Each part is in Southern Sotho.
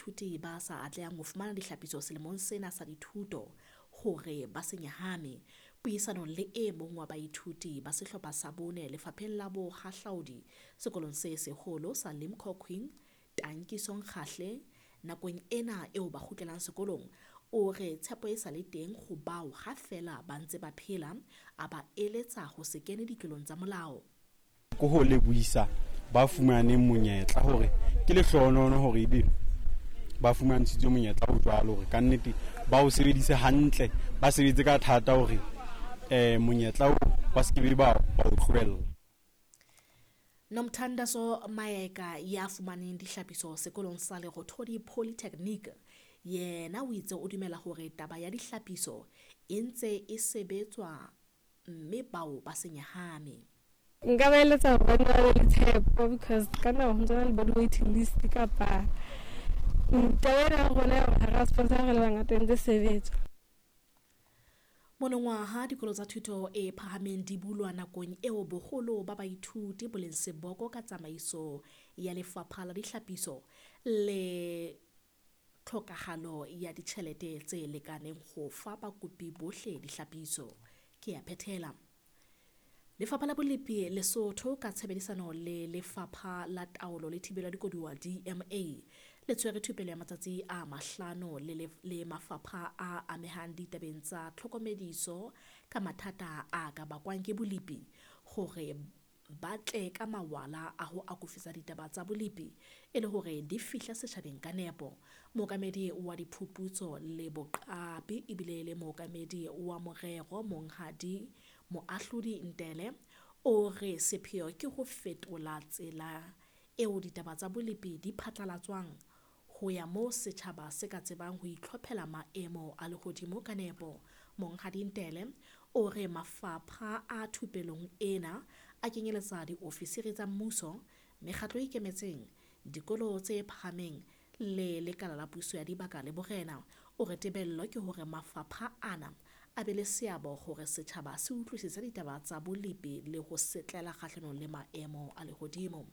baithuti ba sa atlehang ho fumana dihlapiso selemong sena sa dithuto hore ba se nyahame. Puisanong le e mong wa baithuti ba sehlopha sa bone lefapheng la bohahlaudi sekolong se seholo sa Limkokwing, Tankiso Nkgahle, nakong ena eo ba kgutlelang sekolong, o re tshepo e sa le teng ho bao ha feela ba ntse ba phela, a ba eletsa ho se kene ditlolong tsa molao. Ke ho lebohisa ba fumaneng monyetla hore ke lehlohonolo hore ebe ba fumantshitswe monyetla o jwalo, hore kannete ba o sebedise hantle, ba sebetse ka thata hore monyetla oo ba se ke ba o tlohella. Nomthandazo Maeka ya fumaneng dihlapiso sekolong sa Lerothodi Polytechnic, yena o itse o dumela hore taba ya dihlapiso e ntse e sebetswa mme bao ba se nyahame. Nka ba eletsa hore ba nne ba be le tshepo because ka nako ho ntso na le bo di-waiting list kapa taba ena ya rona ya hore ha ra sponsor re le bangata e ntse sebetswa. Monongwaha dikolo tsa thuto e phahameng di bulwa nakong eo boholo ba baithuti bo leng seboko ka tsamaiso ya lefapha la dihlapiso le tlhokahalo ya ditjhelete tse lekaneng ho fa bakopi bohle dihlapiso. Ke ya phethela. Lefapha la Bolepi Lesotho ka tshebedisano le Lefapha la Taolo le Thibelo ya Dikoduwa DMA le tshwere thupelo ya matsatsi a mahlano le mafapha a amehang ditabeng tsa tlhokomediso ka mathata a ka bakwang ke bolepi hore ba tle ka mawala a ho akofisa ditaba tsa bolepi e le hore di fihle setjhabeng ka nepo. Mookamedi wa diphuputso le boqapi ebile le mookamedi wa morero Monghadi Moahlodi Ntele o re sepheo ke ho fetola tsela eo ditaba tsa bolepi di phatlalatswang ho ya moo setjhaba se ka tsebang ho itlhophela maemo a lehodimo ka nepo. Monghadi Ntele o re mafapha a thupelong ena a kenyeletsa diofisiri tsa mmuso, mekgatlo e ikemetseng, dikolo tse phahameng le lekala la puso ya dibaka le borena. O re tebello ke hore mafapha ana a be le seabo hore setjhaba se utlwisise ditaba tsa bolepi le ho setlela kgahlanong le maemo a lehodimo.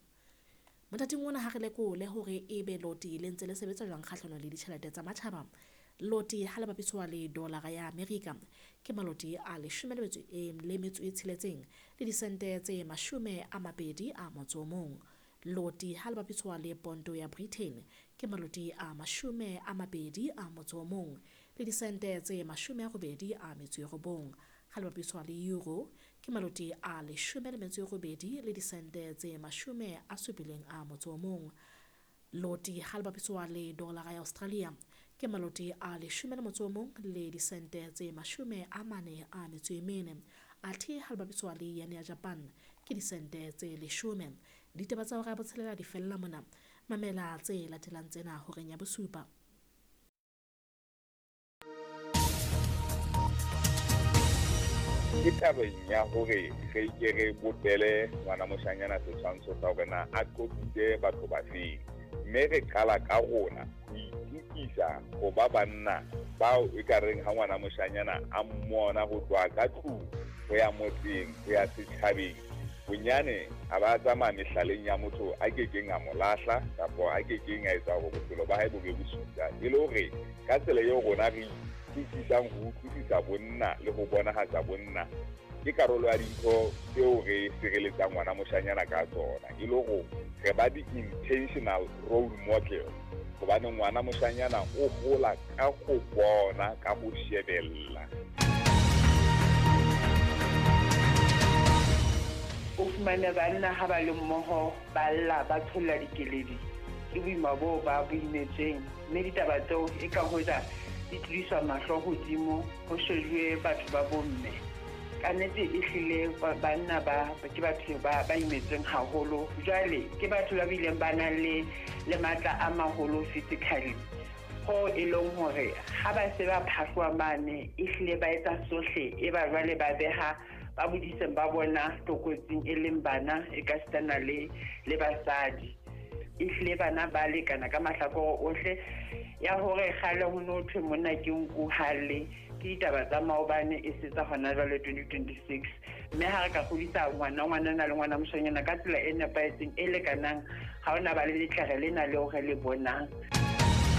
Mothating ona ha re lekole hore ebe loti le ntse le sebetsa jwang kgahlanong le ditjhelete tsa matjhaba. Loti ha le bapiswa le dolara ya Amerika ke maloti a 16.6 le disente tse 21. Loti ha le bapiswa le ponto ya Britain ke maloti a 21 le disente tse 89. Ha le bapiswa le euro ke maloti a 18 le disente tse 71. Loti ha le bapiswa le dolara ya Australia ke maloti a 11 le disente tse 44. Athe ha le bapiswa le yen ya Japan ke disente tse 10. Ditaba tsa hora ya botshelela di fella mona. Mamela tse latelang tsena horeng ya bosupa. Ke tabeng ya hore re ke re bopele ngwana moshanyana setshwantsho sa hore na a qobitse batho ba feng, mme re qala ka rona ho itukisa ho ba banna bao e ka reng ha ngwana moshanyana a mmona ho tloha ka tlung ho ya motseng ho ya setjhabeng, bonyane a ba tsamaya mehlaleng ya motho a kekeng a mo lahla kapa a kekeng a etsa hore bophelo ba hae bo be bosula. E le hore ka tsela eo rona re utlwisisang ho utlwisisa bonna le ho bonahatsa bonna ke karolo ya dintho tseo re sireletsang ngwana moshanyana ka tsona, e le hore re ba di-intentional role model, hobane ngwana moshanyana o hola ka ho bona, ka ho shebella. O fumane banna ha ba le mmoho ba lla ba tsholla dikeledi ke boima boo ba bo imetsweng, mme ditaba tseo e ka hoja di tlodiswa mahlo hodimo ho shejuwe batho ba bomme. Ka nnete e hlile banna ba ke batho ba imetsweng haholo, jwale ke batho ba bileng ba nang le matla a maholo physically, ho e leng hore ha ba se ba phahloa mane e hlile ba etsa sohle e ba jwale ba beha ba bodiseng ba bona tlokotsing e leng bana e ka sitana le basadi. E hlile bana ba lekana ka mahlakore ohle. Ya hore kgale ho no thwe monna ke nku hale ke ditaba tsa maobane e se tsa hona jwale 2026, mme ha re ka kgodisa ngwana le ngwana moshanyana ka tsela e nepahetseng e lekanang, ha ona ba le letlere lena leo re le bonang.